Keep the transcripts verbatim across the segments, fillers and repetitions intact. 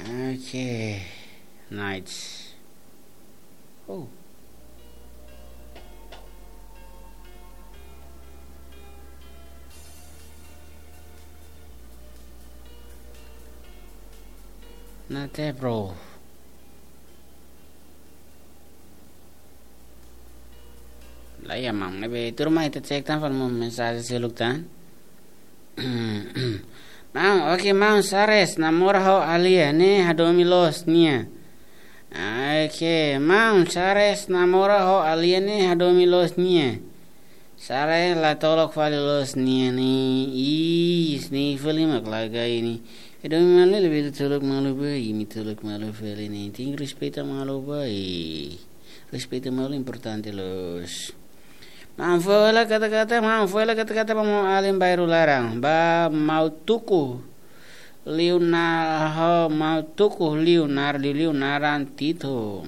Oke. Nice. Oh. Nate, bro. Laiha, maun, ne'ebé tuur mai ita cek tan fali maun mensajen seluk tan. Maun, oke, maun, Sares namora ho alien ne'e hadomi loos nia. Oke, maun, Sares namora ho alien ne'e hadomi loos nia. Sares la tolok fali loos nia ne'e. Ih, ne'e fali mak laga ini. Hadomi malu lebih tolok malu ba, imi tolok malu fali ne'e. Tenke respeita malu ba, ih. Respeita malu importante loos. Maun, fó hela kata-kata, maun, fó hela kata-kata ba maun alin bairru laran. Ba maun tuku liu na ho maun tuku liu nar liu liu naran Tito.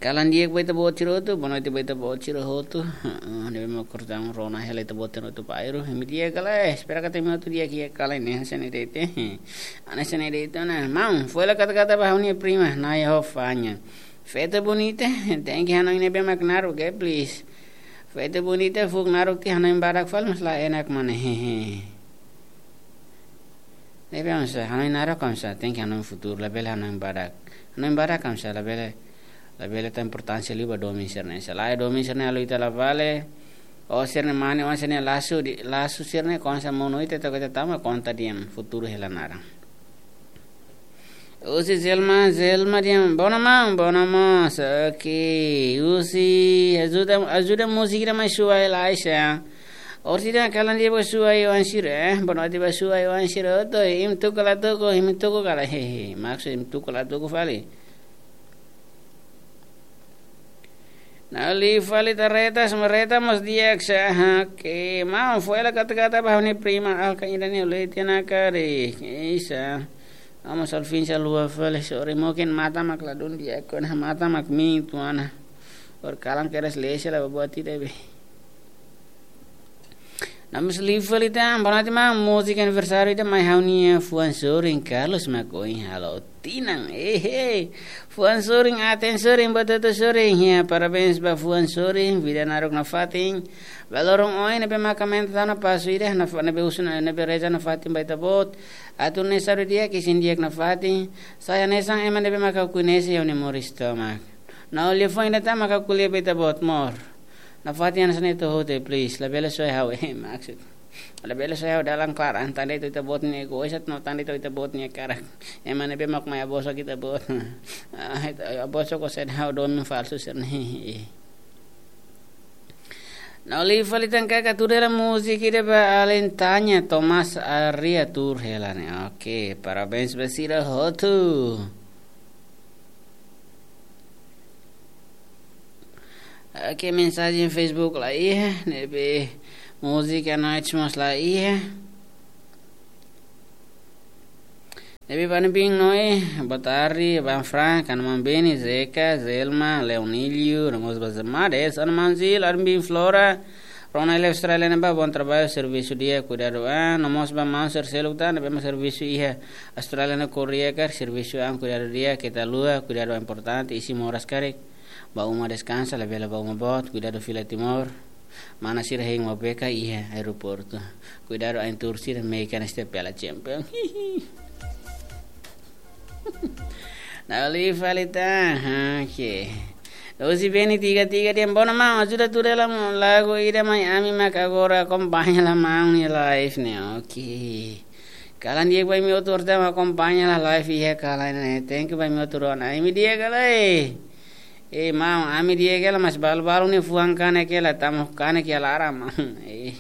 Kalan di'ak ba ita-boot sira hotu, boa noite ba ita-boot sira hotu. Heeh, ne'ebé mak kortaun rona hela ita-boot sira hotu bairru. Imi di'ak ka lae, espera katak imi hotu di'ak iha kalan ne'e, hanesan ne'e de'it. Hanesan ne'e de'it ona. Maun, fó hela kata-kata ba ha'u-nia prima, Naya ho Fanya. Feto bonita, tenke hanoin ne'ebé mak naruk, eh, please. Feto bonita, fuuk naruk tiha hanoin badak fali mós la enak mana, hehe. Ne'ebé oinsá, hanoin naruk oinsá, tenke hanoin futuru, labele hanoin badak. Hanoin badak oinsá, labele, labele tau importánsia liu ba domin sira-ne'e. Se lae domin sira-ne'e halo ita la vale, o sira-ne'e mane, o sira-ne'e lasu, di, lasu sira-ne'e konsa monu ita to'o ita tama konta di'ak, futuru hela naran. Husi Zelma, Zelma di'ak, bona maun, bona maun, oke. Husi ajuda, ajuda múzika ida mai Suai la, Aisha. Orsida kalan di'ak ba Suai oan sira, eh. Boa noite ba Suai oan sira hotu, imi tuku ka la tuku, imi tuku ka lae, hehe. Maksud imi tuku ka la tuku fali. Na'in-lima fali tareta, semereta mós di'ak sa, ha, oke. Maun, fó hela kata-kata ba ha'u-nia prima, Alka ida ne'e uleti na kari. Isa. Amo salfinsa lua fali, sorry, mungkin matan mak ladún di'ak ona, matan mak miin uitoan ona. Or kalan kedas lese la buat ida be. Na'in-lima fali tan, boa noite maun, múzika aniversáriu ida mai ha'u-nia fuan sorin Carlos mak ohin halo tinan. Ehe. Fuan sorin, aten sorin, batutu sorin. Ya, parabéns ba fuan sorin, vida naruk nafatin. Ba loron ohin ne'ebé mak aumenta tan ona pasu ida, nafa-, ne'ebé husu ona, ne'ebé reza nafatin ba ita-boot. Atu nune'e saúde di'ak, isin di'ak nafatin. Sai hanesan ema ne'ebé mak koñese iha ha'u-nia moris tomak. Na'in-lima fali tan mak ko'alia ba ita-boot mós. Nafatin hanesan ne'e to'o hotu, please. Labele soe ha'u, eh, maksud. Labele soe ha'u dalan klaran, tan de'it ita-boot nia egois, no tan de'it ita-boot nia karak. Ema ne'ebé mak mai abosok ita-boot. Ah, ita, abosok ko sen ha'u domin falsu sen. Na'in-lima fali tan kaka tuur hela múzika ida ba alin Tanya Thomas Aria tuur hela ne'e. Oke, parabéns ba sira hotu. Oke, mensajen Facebook la iha, ne'ebé múzika night mós la iha. Ne'ebé ba ne'ebé mak noe, boa tarde, Aban Frank, Anuman Beni, Zeka, Zelma, Leonilio, no mós ba Zemades, Anuman Zil, Armin Flora, Rona iha Austrália ne'ebá, bom trabalho, servisu di'ak, kuidadu an, no mós ba maun sira seluk tan, ne'ebé mak servisu iha Austrália ne'e Korea karik, servisu an, kuidadu di'ak, keta haluha, kuidadu an importante, isin moras karik, ba uma deskansa, labele ba uma boot, kuidadu fila Timor, mana sira hein uma beka iha aeroportu, kuidadu ain tuur sira mehi kan este pela champion. Na'in-lima fali tan, ha, oke. Husi Beni tiga tiga dehan, bona maun, ajuda tuur hela lagu ida mai ami mak agora akompaña hela maun nia live ne'e, oke. Kalan di'ak ba imi hotu mak akompaña hela live iha kalan ne'e, thank you ba imi hotu rona. Imi di'ak ka lae? Eh, maun, ami di'ak hela, mas balu-balu ne'e fuan kanek hela, tama kanek iha laran, maun. Eh.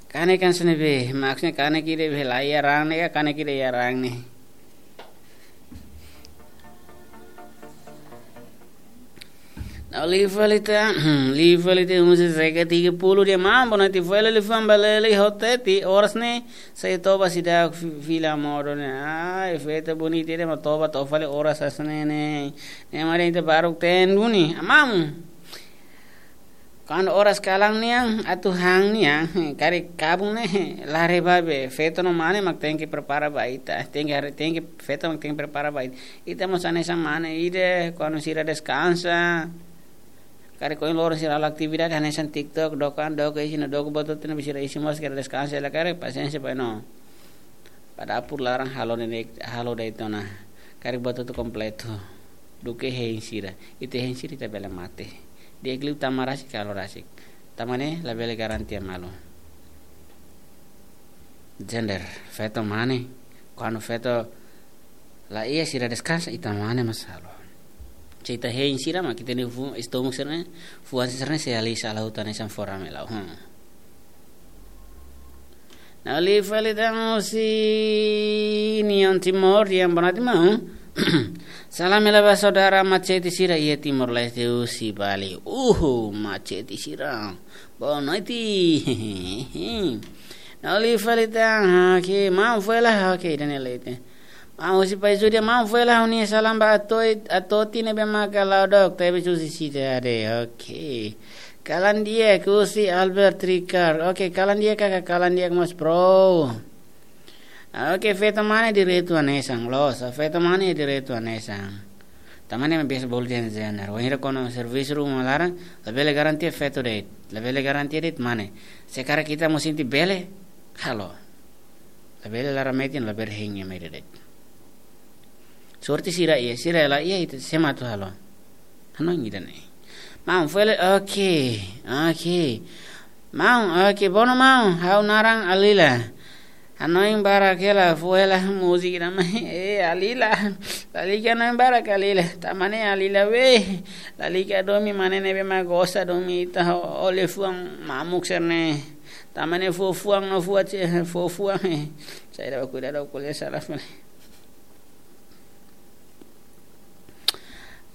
Kanek hanesan ne'ebé, maksudnya kanek ida be la iha raan ne'e, kanek ida iha raan ne'e. Na'in-lima fali tan, na'in-lima fali tan, husi Zeka tiga puluh dehan, maun, boa noite, fó hela liafuan ba Leli ho Teti, oras ne'e, sei toba seidauk fi-, fila modo ne'e. Ai, feto bonita ida mak toba, toba fali oras hanesan ne'e. Ne'e mak dehan ita baruk teen duni. Maun. Kuandu oras kalan nian, atu han nian, karik kabun ne'e, la haree ba be, feto no mane mak tenke prepara ba ita, tenke haree, tenke, feto mak tenke prepara ba ita. Ita mós hanesan mane ida, kuandu sira deskansa, karik ohin loron sira halo atividade, hanesan TikTok, dook an, dook isin, dook buat hotu ne'ebé sira isin mós, karik deskansa, la karik, pasiénsia ba no. Ba dapur laran halo ne'e, halo de'it ona. Karik buat hotu kompletu. Duké hein sira. Ita hein sira ita bele mate. Di'ak liu tama rasik, halo rasik. Tama ne'e labele garantia malu. Gender, feto mane. Kuandu feto la iha sira deskansa, ita mane mós halo. Se ita hein sira mak ita-nia fu-, estómagu sira-ne'e, fuan sira-ne'e sei halai sala hutan ne'e san fora me lau. Hmm. Ha'u liu fali tan husi Union Timor, di'ak, boa noite maun. Salam hela ba saudara Machete sira iha Timor-Leste husi Bali. Uhu, Machete sira. Boa noite. Ha'u liu fali tan, oke, maun fela, oke, Daniel Leite. Maun husi Paixão, di'ak, maun fela ha'u-nia salam ba Atoi, Atoti ne'ebé maka la'o dook, tebe susi sida ade. Oke. Kalan di'ak husi Albert Ricard. Oke, kalan di'ak kaka, kalan di'ak mós bro. Oke, feto mane direitu hanesan, loos, feto mane direitu hanesan. Tama ne'e biasa bolu dehan gender. Wainhira kona servisu ruma laran, labele garantia feto de'it, labele garantia de'it mane. Se karik ita mós sente bele, halo. Labele laran metin, labele hein ema ida de'it. Sorte sira iha, sira la iha ita sé mak atu halo. Hanoin ida-ne'e. Maun fela, oke, oke. Maun, oke, boa noite maun, ha'u naran Alila. Hanoin barak hela, fó hela múzika ida mai, eh, Alila. Lalika hanoin barak Alila. Tama ne'e Alila we. Lalika domin mane ne'ebé mak gosta domin ita ho-, ho liafuan mamuk sira-ne'e. Tama ne'e fó fuan no fó ce-, fó fuan, eh. Saida ba kuidadu ko'alia sala fali.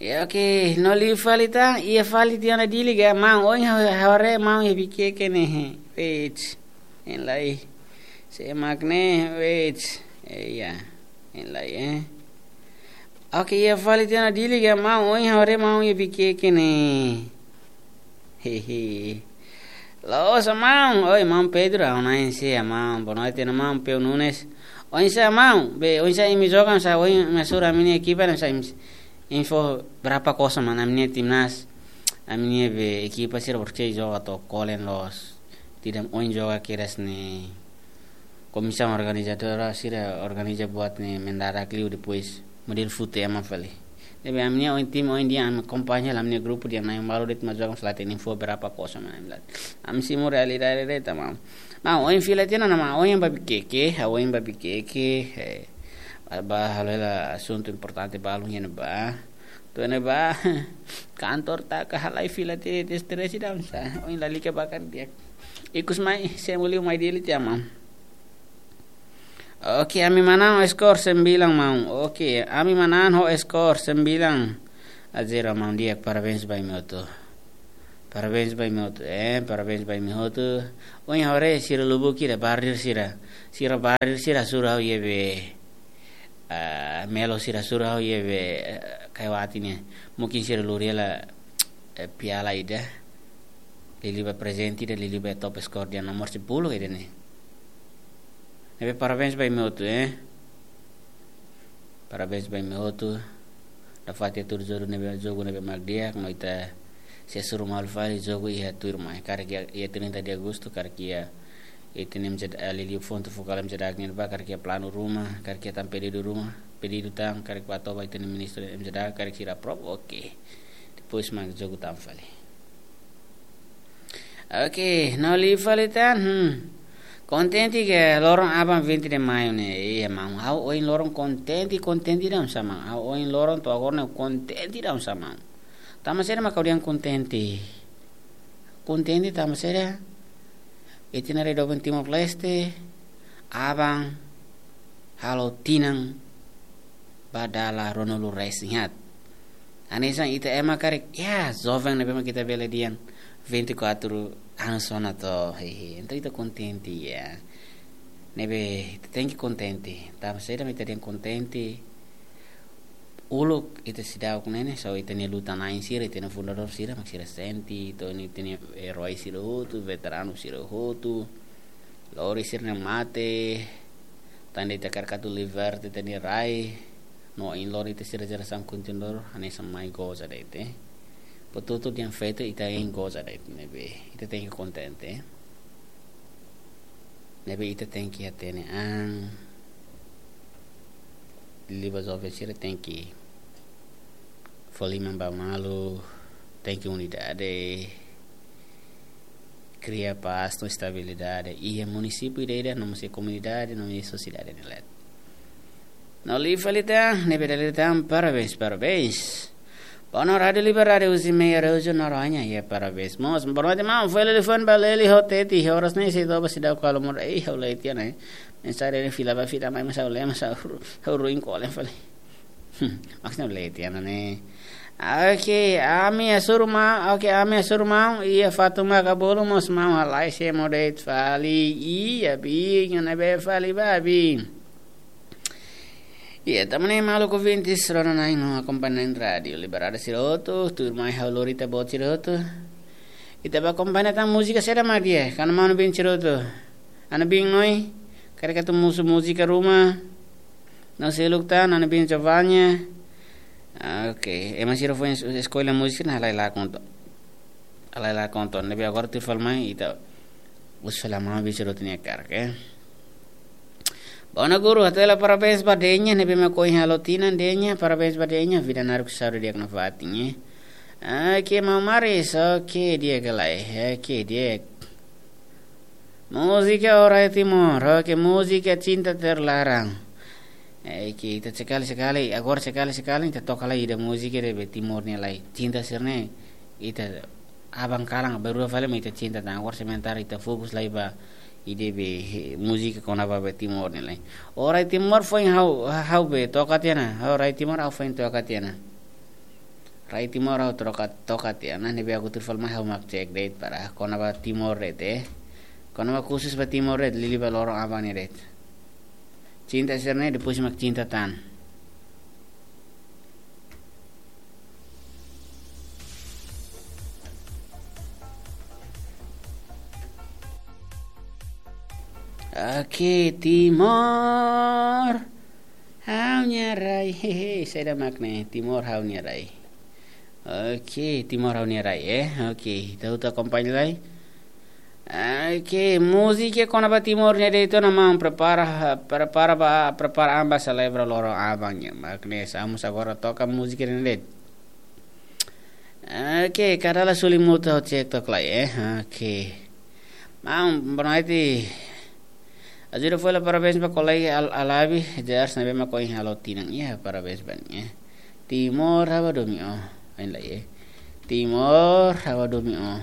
Ya, oke, no liu fali tan, iha fali tiha ona Dili ka, maun, ohin ha'u, ha'u haree maun iha Viqueque ne'e, he. Wait, hein lai. Sé mak ne'e, wait. Eh, ya, hein lai, eh. Oke, iha fali tiha ona Dili ka, maun, ohin ha'u haree maun iha Viqueque ne'e. Hehe. Loos maun, oi, maun Pedro, ha'u-nia ema, maun, boa noite, maun Peu Nunes. Oinsá maun, be, oinsá imi joga, oinsá, oinsá ami-nia ekipa, oinsá imi, info berapa kosong, maun, ami-nia timnas, ami-nia be ekipa sira, porque joga to'o kolen loos. Tidak oin joga kedas ne'e. Komisaun organizadora sira organiza buat ne'e mendadak liu, depois modelu fute ema fali. Ne'ebé ami-nia oin tim oin di'ak, ami akompaña hela ami-nia grupu di'ak, na'in balu de'it mak joga, selain info berapa kosong maun, ami lat. Ami simu realidade de'it, maun. Maun, ohin fila tiha ona maun, ohin ba Viqueque, ha'u ohin ba Viqueque, eh, ba, ba halo hela asuntu importante balun iha ne'ebá. To'o iha ne'ebá, kantor taka halai fila tiha, estrese ida oinsá. Ohin lalika barak di'ak. Ikus mai, simu liu mai Dili tiha maun. Oke, ami manán ho skor sembilan maun. Oke, ami manán ho skor sembilan a zero maun, di'ak, parabéns ba imi hotu. Parabéns ba imi hotu, eh, parabéns ba imi hotu. Ohin ha'u haree sira lubuk ida, barir sira. Sira barir sira hasoru ha'u iha be, ah, Melo sira hasoru ha'u iha be, eh, Kaiwati ne'e. Mungkin sira lori hela, eh, piala ida. Liuliu ba prezente ida, liuliu ba top skor di'ak nomor sepuluh ida-ne'e. Ne'ebé parabéns ba imi hotu, eh. Parabéns ba imi hotu. Nafatin tuir jogu ne'ebé, jogu ne'ebé mak di'ak, no ita sei hasoru malu fali jogu iha tuirmai. Karik iha, iha trinta de agostu, karik iha, iha ita-nia M Z A, eh, liuliu pontu fokál M Z A nian ba, karik iha planu ruma, karik iha tan pedidu ruma, pedidu tan, karik ba toba ita-nia ministru M Z A, karik sira aprova, oke. Depois mak jogu tan fali. Oke, no liu fali tan, hmm. Kontente ka loron aban vinte de maio ne'e, iha maun. Ha'u ohin loron kontente, kontente ida oinsá maun. Ha'u ohin loron to'o agora ne'e kontente ida oinsá maun. Tanba saida mak ha'u dehan kontente? Kontente tanba saida? Ita-nia rai doben Timor-Leste, aban, halo tinan, ba dala ruanulu-resin-haat. Hanesan ita ema karik, ya, joven ne'ebé mak ita bele dehan vinte e quatro anos ona to, hehe. Entaun ita kontente, ya. Ne'ebé, ita tenke kontente. Tanba saida mak ita dehan kontente? uluk ita seidauk ne'e, ne'e, so ita-nia luta-na'in sira, ita-nia fundadór sira, mak sira sente, to'o ita-nia eroi sira hotu, veteranu sira hotu, lori sira-nia mate, tanba ita hakarak atu liberta ita-nia rai, no ohin loron ita sira jerasaun kontinuadór, hanesan mai goza de'it. Betul-betul dehan feto ita hein goza de'it, ne'ebé ita tenke kontente. Ne'ebé ita tenke hatene an, liuliu ba joven sira tenke fó liman ba malu, tenke unidade, kria pás no estabilidade iha munisípiu ida-idak, no mós iha komunidade, no mós iha sosiedade nia leet. No liu fali tan, ne'ebé dala ida tan, parabéns, parabéns. Bono Rádiu Liberdade, Uzimei Araújo Noronha, iha parabéns mós. Boa noite, maun. Fali telefone ba Leli Hoteti, oras ne'e sei toba seidauk halo moras. Ei, ha'u lee tiha ona. Mensajen ne'e fila ba fila mai, mas ha'u lee, mas ha'u ru-, ha'u ruin kolen fali. Hmm, maksudnya lee tiha ona ne'e. Oke, ami hasoru maun, oke, ami hasoru maun, iha fatin maka bolu mós maun halai se modeit fali, iha bin, ne'ebé fali ba bin. Iha, tanba ne'e maluk ouvintes, rona-na'in no akompaña na'in Rádiu Liberdade sira hotu, tuirmai ha'u lori ita-boot sira hotu. Ita bá akompaña tan múzika saida mak di'ak, karik maun-bin sira hotu. Ana bin Noi, karik atu mosu múzika ruma, no seluk tan, ana bin Giovanna. Ah, oke, ema sira foin es-, eskolla múzika ne'e halai lakon to. Halai lakon to, ne'ebé agora tuir fali mai, ita husu fali maun-bin sira hotu nia hakarak, eh. Bono guru, hato'o hela parabéns ba Denia, ne'ebé mak ohin halo tinan Denia, parabéns ba Denia, vida naruk saúde di'ak nafatin, eh. Oke, maun Maris, oke, di'ak ka lae, oke, di'ak. Múzika Orai Timor, oke, múzika Cinta Terlarang. Oke, ita sekali-sekali, agora sekali-sekali, ita toka lai ida múzika ida be Timor nia lai. Cinta sira-ne'e, ita aban kalan, bainrua fali mak ita cinta tan. Agora sementara ita fokus lai ba ida be, eh, múzika kona-ba be Timor nia lai. Orai Timor foin ha'u, ha'u be toka tiha ona. Orai Timor ha'u foin toka tiha ona. Rai Timor ha'u troka, toka tiha ona, ne'ebé agora tuir fali mai ha'u mak cek de'it para kona-ba Timor de'it, eh. Kona-ba khusus ba Timor de'it, liuliu ba loron aban ne'e de'it. Cinta sira-ne'e, depois mak cinta tan. Oke, Timor ha'u-nia rai. Hehe, saida mak ne'e, Timor ha'u-nia rai. Oke, Timor ha'u-nia rai, eh. Oke, ita hotu akompaña lai. Oke, múzika kona-ba Timor nia de'it ona, maun, prepara, prepara ba, prepara an ba selebra loron aban ne'e. Mak ne'e, ha'u mós agora toka múzika ne'e de'it. Oke, Kadala Sulimut ha'u cek took lai, eh. Oke. Maun, boa noite. Ajuda fó hela parabéns ba kolega Al-, Alabi, Jars, ne'ebé mak ohin halo tinan. Iha, parabéns ba nia. Timor ha'u domin ó. Ohin lai, eh. Timor ha'u domin ó.